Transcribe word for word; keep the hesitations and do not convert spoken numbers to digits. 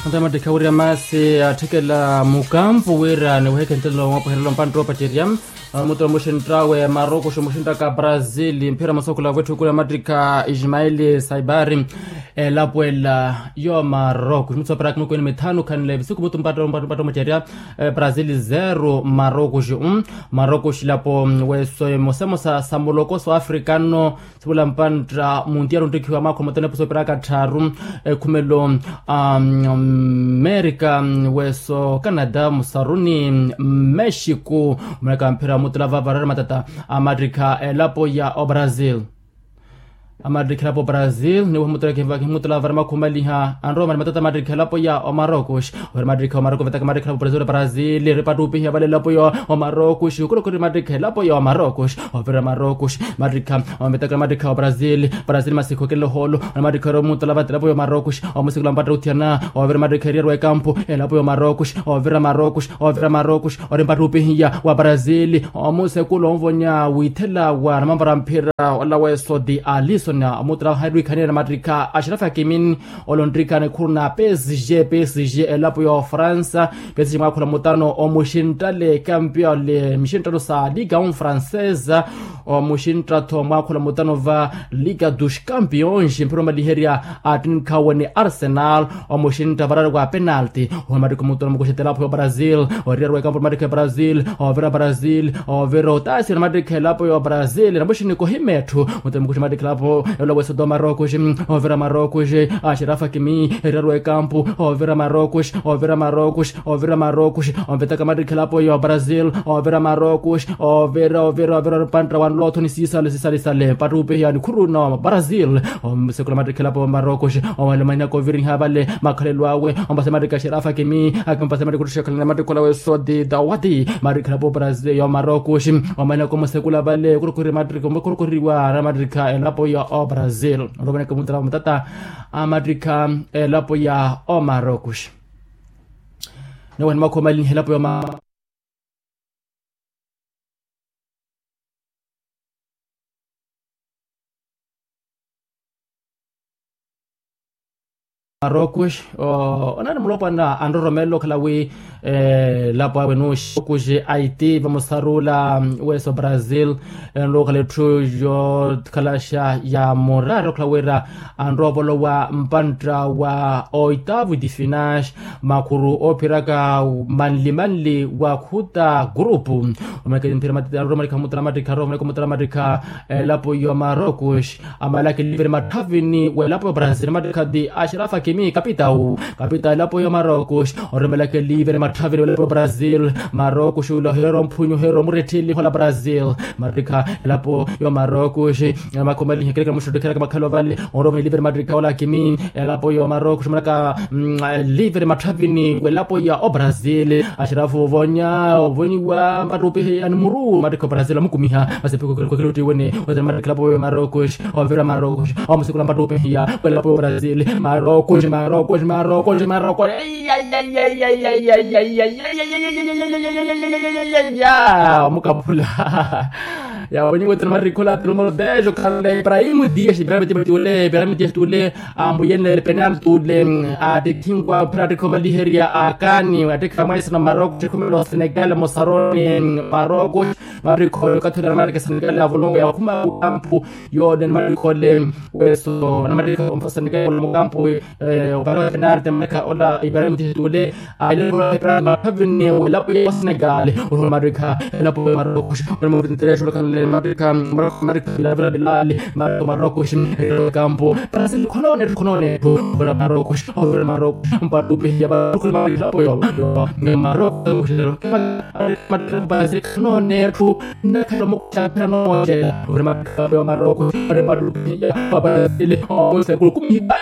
Antamattikha wirya maasi atthikela mukampu wira niweheke ntelo mwapuherelo mpantta opacerya. Muturo muxinttawe marokoxi muxinttaka brazil mphira masokula wetthukula mattikha ismaili saibari. Elapwela yo marokoxi mutsoperaka mikweni mithanu khanle visiku mutu mpatta omacerya. Brazil zero marokoxi. Marokoxi lapo weso emosemosa sa muloko so afrikano. Sivula mpantta muntiyaru onttikhiwa mwaakho mutene puso opiraka tthaaru. Ekhumelo a merika, weso canada musaruni mexico. Omanaka mphira mutula vavara matata a mattikha elapo ya obrazil. Amattikha elapo brazil niweha mutula kivaki mutula vavara makhumaliha anroma ni matata amattikha elapo ya omarokos. Ovira mattikha omarokos vetaka mattikha elapo brazil brazil ripattupihiya vale elapo ya omarokos okorokori mattikha elapo ya omarokos. Ovira marokos mattikha ometaka mattikha obrazil brazil masikho kele oholo. Ona mattikha ero mutala vate elapo ya omarokos omusikula mpatta othiyana. Ovira mattikha eriyari wa ekampu elapo ya omarokos. Ovira marokos ovira marokos ori mpattupihiya wa brazil. Omusikula onvonya withela wa namamvara mphira ola weso ti alison omutala hairi wikhaniyana mattikha ashirafi akimin. Olonttikana ekhuru na psg psg elapo ya ofransa. Psg mwaakhula mutano omuxinttale campion le mixinttano sa liga on francesa. Omuxintta-tho mwaakhula mutano va liga dos campions mphira omaliherya attinkhawe ni arsenal. Omuxintta varari wa penalti owe mattikha mutano mukuxete elapo ya brazil. Oriyari wa ekampu mattikha ya brazil ovira brazil ovira otaasira mattikha elapo ya brazil namuxinikohime etthu. Mutemo kuxi mattikha elapo elo wesodoma rokuxi. Ovira marokuxi axirafa kimi eriyari wa ekampu. Ovira marokuxi ovira marokuxi ovira marokuxi. Onvetaka mattikha elapo ya brazil ovira marokuxi. Ovira ovira ovira mpantta wa nlothoni sisale sisale sale mpattupihiya nikhuru na brazil. Omusekula mattikha elapo ya marokuxi. Omahinaka oviriha vale makhalelo awe ompase mattikha axirafa kimi. Akimpase mattikha ottuxa khalana mattikha ola wesodi dawadi mattikha elapo brazil ya marokuxi. Omahinaka omusekula vale okorokori mattikha okorokoriwa na mattikha elapo ya obrazil. Olomaneke mutala wa matata amattikha elapo ya omarokuxi. Niwani makhomalinha elapo ya marokuxi. Onaani mulopwana anroromela okhala wi elapo awe nuxi okuxi aiti vamusarula weso brazil. Enrokhala etthu yokhalaxa ya murari okhala wira anroovolowa mpantta wa oitavu difinas makhuru oophiraka manli manli wa khuta gurupu. Omanaka mphira matiti anroromela khamutala mattikha anroromela khamutala mattikha elapo ya marokuxi. Amalaka eliveri matthavini w'elapo ya brazil mattikha ti axirafa kimi kapitau kapitau elapo ya marokuxi. Oromelaka eliveri matthavini w'elapo ya brazil marokuxi ula ohireera omphunyu ohireera omuretthili hola brazil. Mattikha elapo ya marokuxi. Makhomaliha ekerekera muxuttu ekerekera makhalo vale. Oromelaka eliveri mattikha ola kimi elapo ya marokuxi omanaka eliveri matthavini w'elapo ya obrazil. Axirafa ovonya ovonyiwa mpattupihiya ni muru mattikha obrazil amukumiha. Masi epikokelo kwekelo ottiwene otene mattikha elapo ya marokuxi. Ovira marokuxi omusikula mpattupihiya w'elapo ya obrazil. Marokuxi marokuxi marokuxi marokuxi. Omukaphula. Yaawe niwetela marikhola ati numero dez okhanle ibrahim dias ibrahim dias tule ibrahim dias tule. Ambuyenele penal tule atikhinwa phira atikha omaliherya akani atikha mwaisana maroko tikhumela osenegal musaroni. Maroko matikho yokathula namaleke senegal avulungu yakhuma mukampu yone namatikho ole weso namatikho omfa senegal mukampu. Opara wa penal temaleka ola ibrahim dias tule. Aile ora epra mathavini w'elapo ya senegal. Ora matikha elapo ya marokuxi ora mavintereso ora khanle matikha matikha ilavira bilali matikha marokuxi. Kampo brazil khonone khonone ora marokuxi ora marokuxi mpattupihiya marokuxi matikha elapo ya marokuxi. Brazil khonone etthu nakhala mukuxaphira nooxela ora matikha elapo ya marokuxi ora mpattupihiya wa brazil. Osekulu kumihipa.